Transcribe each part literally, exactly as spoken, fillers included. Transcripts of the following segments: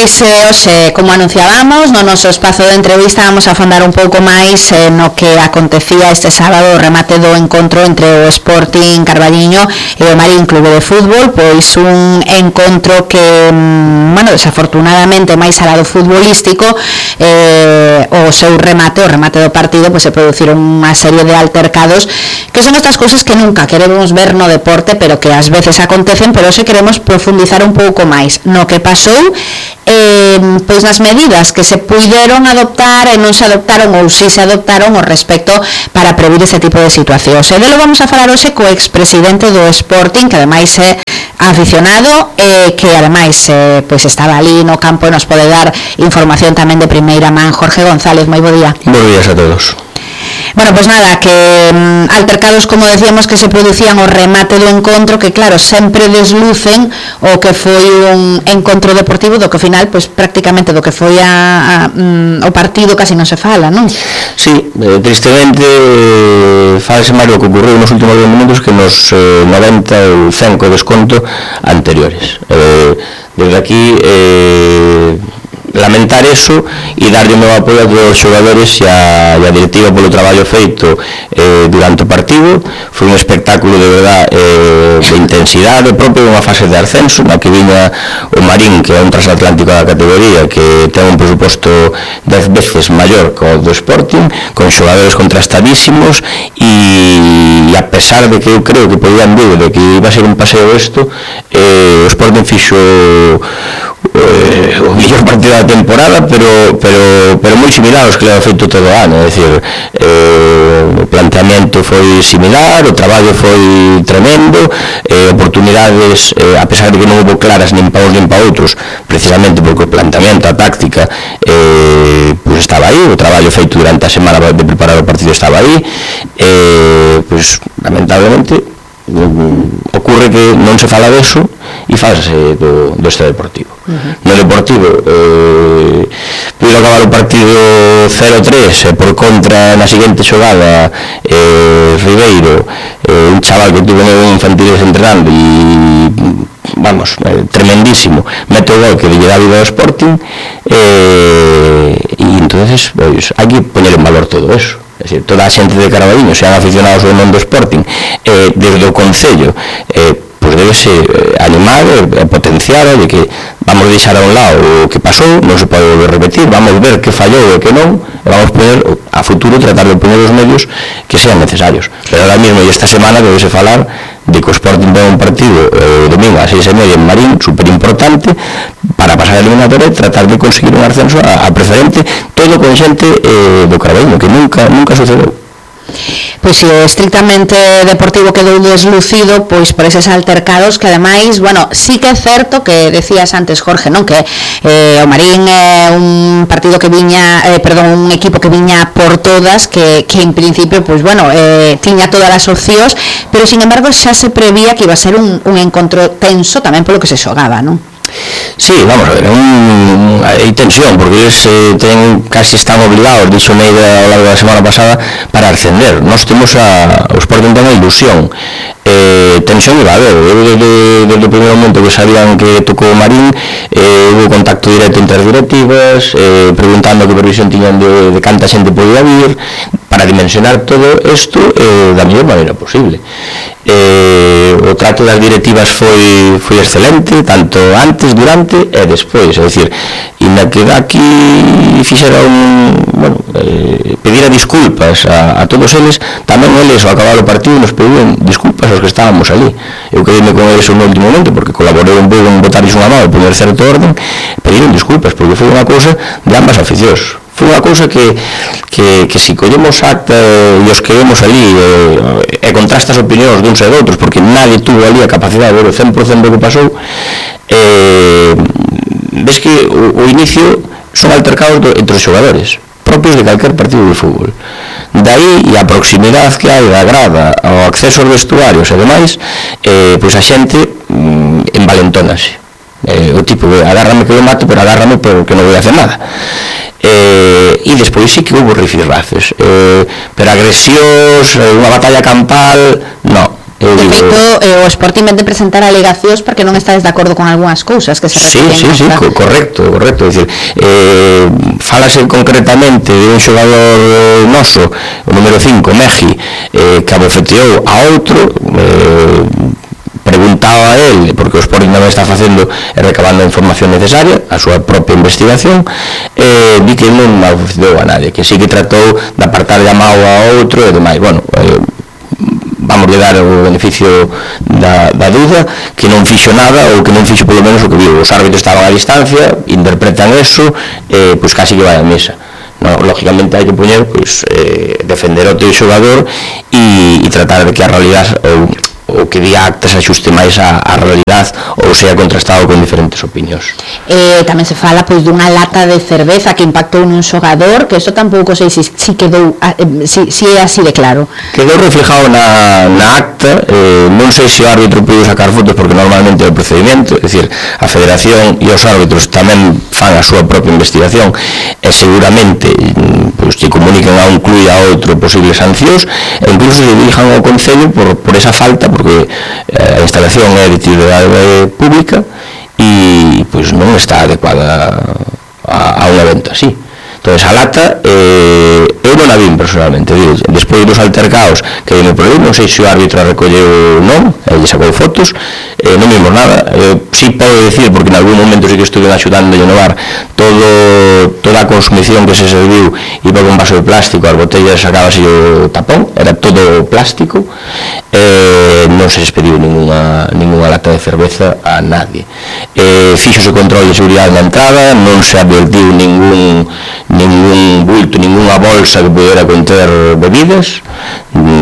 Pois eh, hoxe, como anunciábamos, no noso espazo de entrevista vamos a afondar un pouco máis eh, no que acontecía este sábado o remate do encontro entre o Sporting Carballiño e o Marín Clube de Fútbol, pois un encontro que, bueno, desafortunadamente máis alá do futbolístico, eh, o seu remate, o remate do partido, pois se produciron unha serie de altercados que son estas cousas que nunca queremos ver no deporte, pero que ás veces acontecen, pero hoxe queremos profundizar un pouco máis no que pasou, eh, pois nas medidas que se puideron adoptar e non se adoptaron ou si se adoptaron ao respecto para previr ese tipo de situacións. E delo vamos a falar hoxe co expresidente do Sporting, que ademais é aficionado e eh, que ademais eh, pois estaba ali no campo e nos pode dar información tamén de primeira man. Jorge González, moi bo día. Bo días a todos. Bueno, pois pues nada, que um, altercados, como decíamos, que se producían o remate do encontro, que claro, sempre deslucen o que foi un encontro deportivo do que ao final, pois pues, prácticamente do que foi a, a, um, o partido casi non se fala, non? Sí, eh, tristemente eh, falase máis o que ocorreu nos últimos dez minutos que nos eh, noventa ou cen co desconto anteriores. Eh, desde aquí eh, lamentar eso e darlle o meu apoio a todos os xogadores e a, e a directiva polo traballo feito eh, durante o partido. Foi un espectáculo de verdad eh, de intensidade propio dunha fase de ascenso na que viña o Marín, que é un transatlántico da categoría, que ten un presuposto dez veces maior que o do Sporting, con xogadores contrastadísimos e, e a pesar de que eu creo que podían vir de que iba a ser un paseo isto, eh, o Sporting fixo Eh, o mellor partido da temporada, pero pero pero moi similar aos que leva feito todo o ano, é dicir, eh, o planteamento foi similar, o traballo foi tremendo, eh, oportunidades, eh, a pesar de que non houve claras nin pa uns nin pa outros, precisamente porque o planteamento, a táctica eh, pues estaba aí, o traballo feito durante a semana de preparar o partido estaba aí, eh, pues lamentablemente ocurre que non se fala deso e falase do, do este deportivo. Uh-huh. No deportivo eh, puido acabar o partido cero tres e por contra na seguinte xogada eh, Ribeiro, eh, un chaval que tuve en infantiles entrenando e vamos, eh, tremendísimo, mete o gol que lle dá vida ao Sporting, eh, e entonces pues, hai que poñer en valor todo eso. É dicir, toda a xente de Carballiño, sean aficionados ao non do Sporting, eh, desde o Concello, eh, pues debese eh, animar e eh, potenciar de que vamos deixar a un lado o que pasou, non se pode volver a repetir, vamos ver que fallou e que non, e vamos poder a futuro tratar de poner os medios que sean necesarios. Pero ahora mismo e esta semana debese falar de que o Sporting ten un partido eh, domingo a seis e media en Marín, super importante para pasar a eliminatoria e tratar de conseguir un ascenso a, a preferente, todo con xente eh, do Carballiño, que nunca nunca sucedeu. Pois si o estrictamente deportivo quedou deslucido pois por eses altercados que ademais, bueno, sí que é certo que decías antes, Jorge, non, que eh, o Marín é un partido que viña, eh, perdón, un equipo que viña por todas, que, que en principio, pois bueno, eh, tiña todas as opcións, pero sin embargo xa se prevía que iba a ser un, un encontro tenso tamén polo que se xogaba, non? Sí, vamos a ver, un, hai tensión, porque eles eh, ten, casi están obligados, dixo Meida ao largo da semana pasada, para ascender. Nós temos a, o Sporting ten a ilusión, eh, tensión iba a haber. Eu desde, desde o primeiro momento que sabían que tocou o Marín, eh, hubo contacto directo entre as directivas, eh, preguntando que previsión tiñan de, de canta xente podía vir, para dimensionar todo isto eh, da mellor maneira posible. Eh, o trato das directivas foi, foi excelente, tanto antes, durante e despois, é dicir, e na que aquí fixeron, bueno, eh, pedir disculpas a, a todos eles, tamén eles ao acabar o partido nos pediron disculpas aos que estábamos ali. Eu quedei con eles no último momento porque colaborei un pouco en botarles unha mão e poner certo orden, pediron disculpas porque foi unha cousa de ambas aficións. Foi unha cousa que, que, que si collemos acta e os que vemos ali e, e contrastas opinións duns e doutros, porque nadie tuvo ali a capacidade de ver o cen por cento do que pasou, eh, ves que o, o inicio son altercados do, entre os xogadores propios de calquer partido de fútbol. Daí, e a proximidade que hai da grada ao acceso aos vestuarios e demais, eh, pois a xente mm, envalentónase. Eh, o tipo, agárrame que eu mato, pero agárrame porque non vou a hacer nada. Eh, e despois sí que houve rifirrafes, eh, pero agresións, unha batalla campal, non. Eu de digo, feito, eh, o Sporting vende presentar alegacións porque non estades de acordo con algunhas cousas que se sí, refiren. Sí, sí, co correcto, correcto. É dicir, eh, falase concretamente de un xogador noso, o número cinco, Mexi, eh, que abofeteou a outro, eh, preguntaba a él, porque o Sporting tamén está facendo e recabando a información necesaria, a súa propia investigación, eh, di que non abofeteou a nadie, que sí que tratou de apartar de a mao a outro e demais. Bueno, eh, vamos de dar o beneficio da, da duda, que non fixo nada ou que non fixo polo menos o que viu. Os árbitros estaban a distancia, interpretan eso, eh, pois casi que vai a mesa. No, lógicamente hai que poñer, pois, eh, defender o teu xogador e, e tratar de que a realidade ou, o que di acta se axuste máis a, a realidade ou sea contrastado con diferentes opinións. Eh, tamén se fala pois dunha lata de cerveza que impactou nun xogador, que isto tampouco sei se si, si quedou eh, si, si é así de claro. Quedou reflejado na, na acta, eh, non sei se o árbitro pudo sacar fotos porque normalmente é o procedimento, é dicir, a Federación e os árbitros tamén fan a súa propia investigación e seguramente pois, que comuniquen a un club e a outro posibles sancións e incluso se dirijan ao Concello por, por esa falta, porque eh, a instalación é de utilidade pública e pois non está adecuada a, a un evento así. Entón, a lata, eh, eu non a vim personalmente, digo, despois dos altercaos que vime por aí, non sei se o árbitro a recolleu ou non, ele sacou fotos, eh, non vimos nada. Eh, sí podo decir, porque en algún momento sí que estuve axudando a inovar, todo, toda a consumición que se serviu iba con vaso de plástico, as botellas sacábase o tapón, era todo plástico, eh, non se despediu ninguna, ninguna lata de cerveza a nadie. Eh, fixose control de seguridade na entrada, non se advertiu ningún ningún bulto, ninguna bolsa que pudera conter bebidas,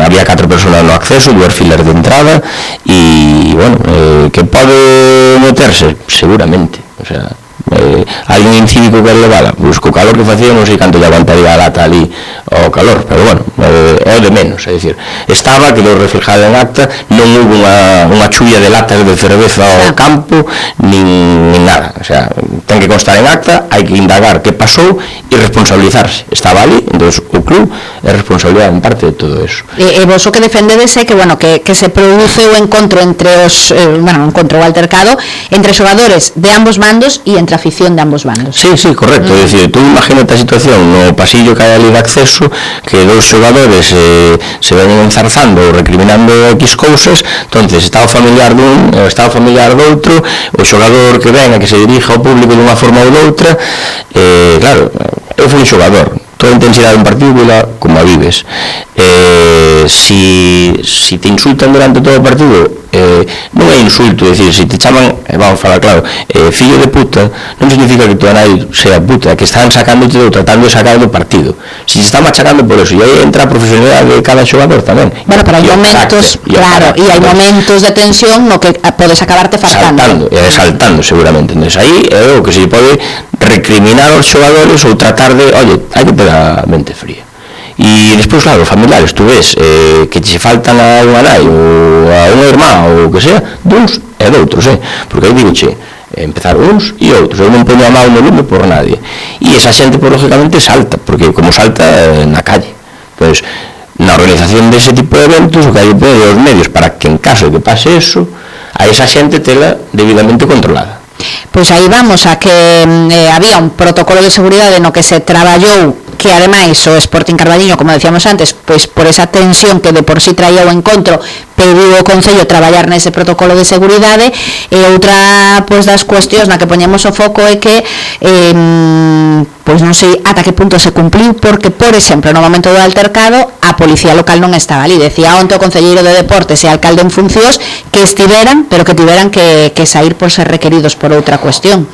había catro personas no acceso, dúas filas de entrada e, bueno, eh, que pode meterse, seguramente, o sea, eh, alguén incívico que levada, pois co calor que facía non sei canto lle aguantaría a lata ali ao calor, pero bueno, eh, é o de menos, é dicir, estaba, quedou reflejada en acta, non hubo unha, unha chulla de latas de cerveza ao campo, nin, nin nada, o sea, ten que constar en acta, hai que indagar que pasou e responsabilizarse, estaba ali, entón o club é responsabilidade en parte de todo eso. E, e vos o que defendedes é que, bueno, que, que se produce o encontro entre os, eh, bueno, o encontro o altercado entre xogadores de ambos bandos e entre afición de ambos bandos. Sí, sí, correcto, mm. é dicir, tú imagínate a situación no pasillo que hai ali de acceso, que dous xogadores eh, se ven enzarzando ou recriminando X cousas, entonces está o familiar dun, está o familiar do outro, o xogador que ven a que se dirija ao público dunha forma ou doutra, eh, claro, eu fui un xogador, toda a intensidade dun partido como a vives, eh, si, si te insultan durante todo o partido, eh, non é insulto, é dicir, se te chaman, eh, vamos a falar claro, eh, fillo de puta, non significa que tu nai sea puta, que están sacándote ou tratando de sacar do partido. Si se está machacando por eso, e aí entra a profesionalidade de cada xogador tamén. Bueno, pero hai momentos, claro, e hai momentos de tensión no que podes acabarte fartando. Saltando, e saltando seguramente. Entonces aí é o que se pode recriminar aos xogadores ou tratar de, oye, hai que ter a mente fría. E despois, claro, os familiares, tú ves eh, que te faltan a unha nai ou a unha irmá ou o que sea, duns e doutros, eh? Porque aí digo, che, empezar uns e outros, eu non poño a mão no lume por nadie, e esa xente, por lógicamente, salta, porque como salta eh, na calle, pois, na organización dese tipo de eventos, o que hai que poner os medios para que en caso de que pase eso, a esa xente tela debidamente controlada. Pois aí vamos a que eh, había un protocolo de seguridade no que se traballou, que ademais o Sporting Carballiño, como decíamos antes, pois por esa tensión que de por sí traía o encontro, pediu o Concello traballar nese protocolo de seguridade. E outra pois das cuestións na que poñemos o foco é que eh, pois non sei ata que punto se cumpliu, porque, por exemplo, no momento do altercado a policía local non estaba ali. Decía onte o concelleiro de Deportes e alcalde en funcións que estiveran, pero que tiveran que, que sair por ser requeridos por outra cuestión.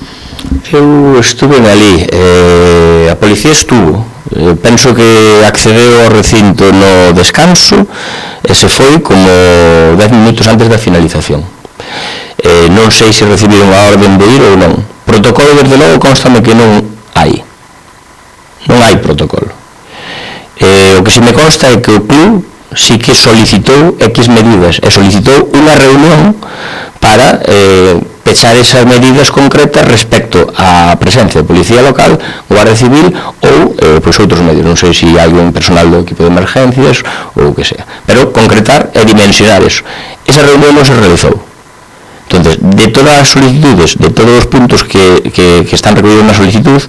Eu estuve ali, eh, a policía estuvo, eh, penso que accedeu ao recinto no descanso e se foi como dez minutos antes da finalización. Eh, non sei se recibiron a orden de ir ou non. Protocolo, desde logo, constame que non hai. Non hai protocolo. Eh, o que se me consta é que o club sí que solicitou X medidas e solicitou unha reunión para eh, pechar esas medidas concretas respecto á presencia de policía local, Guardia Civil ou eh, pois outros medios, non sei se hai un personal do equipo de emergencias ou o que sea, pero concretar e dimensionar eso. Esa reunión non se realizou. Entonces, de todas as solicitudes, de todos os puntos que, que, que están recogidos na solicitud,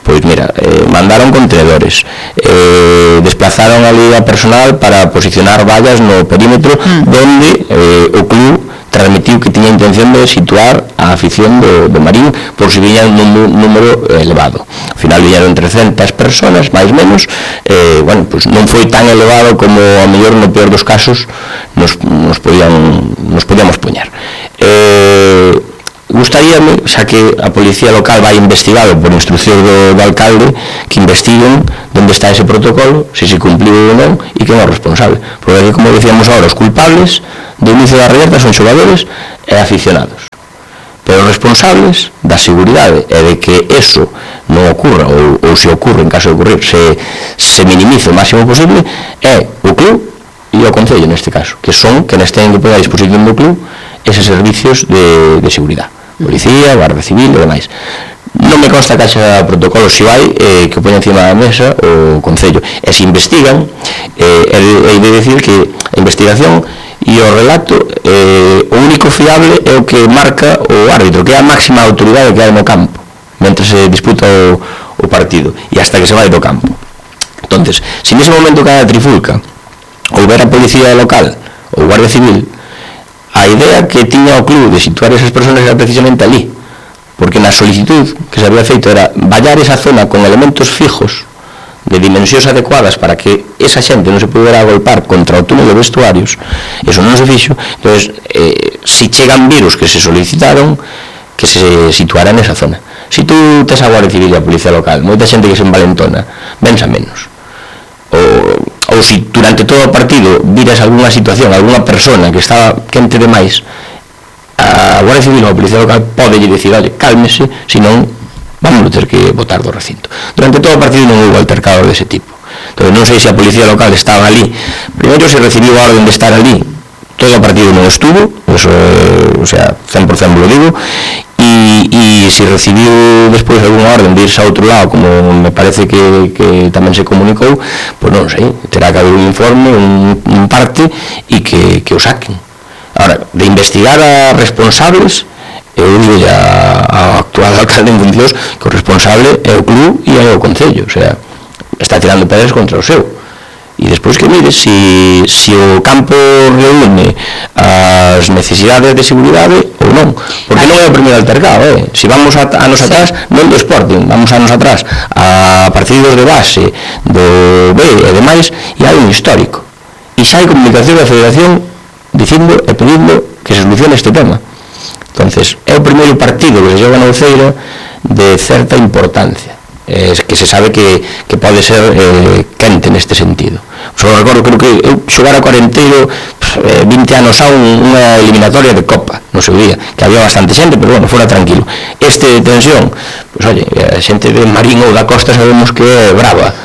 pois mira, eh, mandaron contenedores, eh, desplazaron ali a personal para posicionar vallas no perímetro mm. donde eh, o club transmitiu que tiña intención de situar a afición do, do Marín por si viñan un número elevado. Ao final viñeron trescentas personas, máis menos, eh, bueno, pues non foi tan elevado como a mellor no peor dos casos nos, nos, podían, nos podíamos poñer. Eh, gustaríame, xa que a policía local vai investigado por instrucción do, do alcalde, que investiguen onde está ese protocolo, se se cumpliu ou non, e quen é o responsable. Porque, como decíamos agora, os culpables do inicio da reberta son xogadores e aficionados. Pero os responsables da seguridade e de que eso non ocurra, ou, ou se ocurre, en caso de ocurrir, se, se minimice o máximo posible, é o club e o concello, neste caso, que son quenes teñen que poner a disposición do club eses servicios de, de seguridade. Policía, Guardia Civil e demais. Non me consta que haxa protocolos, se hai, eh, que o poña encima da mesa o concello. E se investigan, eh, é de decir que a investigación e o relato, eh, o único fiable é o que marca o árbitro, que é a máxima autoridade que hai no campo mentre se disputa o, o partido e hasta que se vai do campo. Entonces, se nese momento que hai a trifulca houber a policía local ou Guardia Civil, a idea que tiña o club de situar esas personas era precisamente ali, porque na solicitud que se había feito era vallar esa zona con elementos fijos de dimensións adecuadas para que esa xente non se pudera agolpar contra o túnel de vestuarios. Eso non se fixo. Entón, eh, si chegan virus que se solicitaron, que se situaran nesa zona. Si tú tes a Guardia Civil e a Policía Local, moita xente que se envalentona, vensa menos. Ou, ou si durante todo o partido viras algunha situación, algunha persona que estaba quente demais, a Guardia Civil ou a Policía Local pode lle dicir, olha, cálmese, senón vamos a ter que botar do recinto. Durante todo o partido non houve altercados dese tipo. Entón, non sei se a Policía Local estaba ali. Primeiro se recibiu a orden de estar ali, todo o partido non estuvo, eso, o sea, cen por cento lo digo, e, e se recibiu despois algunha orden de irse a outro lado, como me parece que, que tamén se comunicou, pois non sei, terá que haber un informe, un, un parte, e que, que o saquen. Ahora, de investigar a responsables, eu digo ya ao actual alcalde en funcións que o responsable é o club e é o concello, o sea, está tirando pedras contra o seu. E despois que mire si, si o campo reúne as necesidades de seguridade ou non, porque non é o primeiro altercado, eh? Si vamos a, anos atrás, non do Sporting, vamos anos atrás a partidos de base do B e demais, e hai un histórico e xa hai comunicación da Federación dicindo e pedindo que se solucione este tema. Entonces, é o primeiro partido que se xoga na Uceira de certa importancia, eh, que se sabe que, que pode ser eh, quente neste sentido. Só recordo, creo que eu xogara cuarenteiro eh, vinte anos a un, unha eliminatoria de Copa no seu día, que había bastante xente, pero bueno, fora tranquilo. Este de tensión, pues oye, a xente de Marín ou da Costa sabemos que é brava,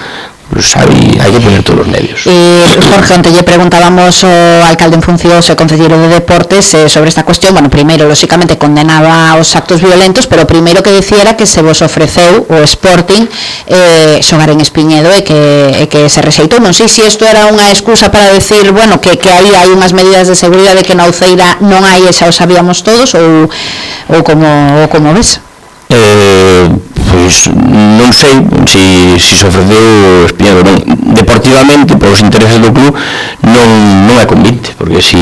sabe, hai que poner todos os medios. Eh, Jorge, onte lle preguntábamos ao alcalde en funcións e concelleiro de Deportes eh, sobre esta cuestión. Bueno, primeiro, lóxicamente, condenaba os actos violentos, pero primeiro que dicía era que se vos ofreceu o Sporting eh, xogar en Espiñedo e que, e que se rexeitou. Non sei se isto era unha excusa para decir, bueno, que, que aí hai unhas medidas de seguridade que na Uceira non hai e xa o sabíamos todos, ou, ou, como, ou como ves? Eh, pois non sei se si, si se ofreceu Espiñedo non. Deportivamente, por os intereses do club, non, non é convite, porque se si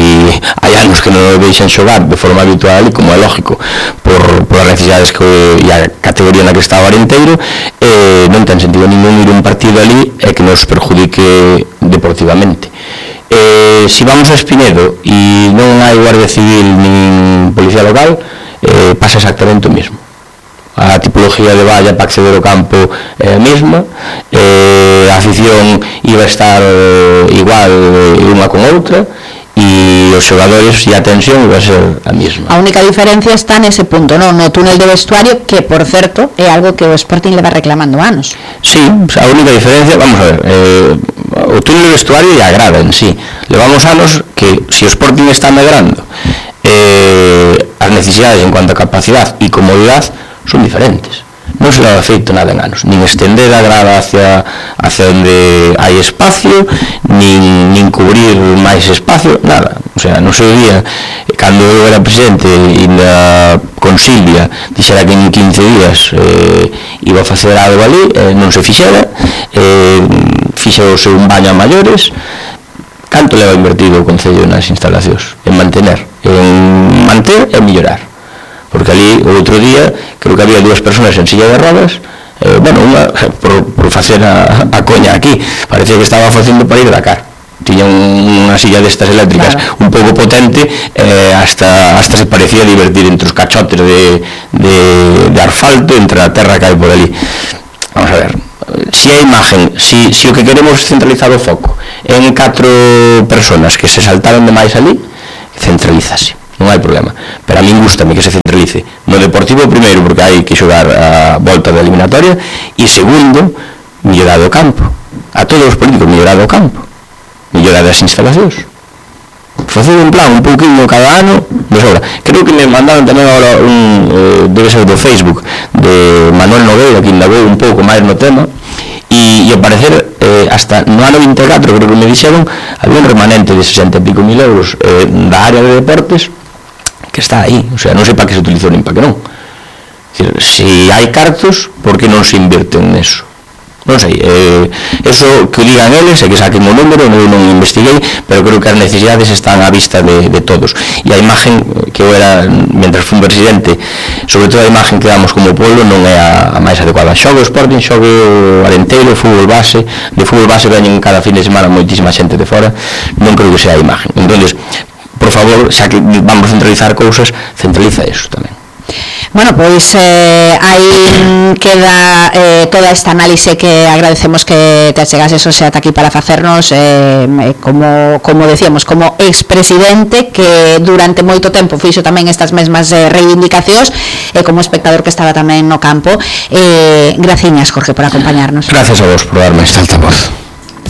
hai anos que non o deixan xogar de forma habitual, e como é lógico por, por as necesidades que, e a categoría na que está o Arenteiro, eh, non ten sentido ningún ir un partido ali e que nos perjudique deportivamente. Eh, se si vamos a Espiñedo e non hai Guardia Civil nin Policía Local, eh, pasa exactamente o mesmo. A tipología de valla para acceder ao campo é a mesma, eh, a afición iba a estar eh, igual unha con outra, e os xogadores e a tensión iba a ser a mesma. A única diferencia está nese punto, non? No túnel de vestuario, que, por certo, é algo que o Sporting leva reclamando anos. Sí, a única diferencia, vamos a ver, eh, o túnel de vestuario e a grada en sí. Levamos anos que, se o Sporting está medrando, eh, as necesidades en cuanto a capacidade e comodidade son diferentes. Non se leva feito nada en anos, nin estender a grada hacia, hacia onde hai espacio, nin, nin cubrir máis espacio, nada. O sea, no seu día, cando eu era presidente e na Consilvia dixera que en quince días eh, iba a facer algo ali, eh, non se fixera, eh, fixeuse un baño a maiores. Canto leva invertido o Concello nas instalacións? En mantener, en manter e mellorar. Porque ali, o outro día, creo que había dúas persoas en silla de rodas, eh, bueno, unha, por, por facer a, a coña aquí, parecía que estaba facendo para ir a Dakar. Tiña un, unha silla destas eléctricas, claro, un pouco potente, eh, hasta, hasta se parecía divertir entre os cachotes de, de, de asfalto, entre a terra que hai por ali. Vamos a ver, si a imagen, si, si o que queremos centralizar o foco en catro personas que se saltaron demais ali, centralízase. Non hai problema, pero a min gustame que se centralice no Deportivo primeiro, porque hai que xogar a volta da eliminatoria, e segundo, mellorar o campo, a todos os políticos, mellorar o campo, mellorar as instalacións, facer un plan un pouquinho cada ano de sobra. Creo que me mandaron tamén agora un, eh, debe ser do Facebook, de Manuel Nogueira, que indagou un pouco máis no tema, e, e ao parecer eh, hasta no ano vinte e catro, creo que me dixeron, había un remanente de sesenta e pico mil euros eh, da área de deportes que está aí, o sea, non sei para que se utilizou nin para que non. Decir, se hai cartos, por que non se invirten neso? Non sei, eh, eso que o digan eles e que saquen o número, eu non investiguei, pero creo que as necesidades están á vista de, de todos. E a imagen que eu era, mentras fui un presidente, sobre todo a imagen que damos como pueblo non é a, a máis adecuada. Xogue o Sporting, xogue o Arenteiro, o fútbol base, de fútbol base veñen cada fin de semana moitísima xente de fora, non creo que sea a imagen. Entonces, por favor, xa que vamos a centralizar cousas, centraliza eso tamén. Bueno, pois eh, aí queda eh, toda esta análise que agradecemos que te achegases hoxe ata aquí para facernos eh, como, como decíamos, como expresidente que durante moito tempo fixo tamén estas mesmas eh, reivindicacións e eh, como espectador que estaba tamén no campo. eh, Graciñas, Jorge, por acompañarnos. Gracias a vos por darme esta altavoz.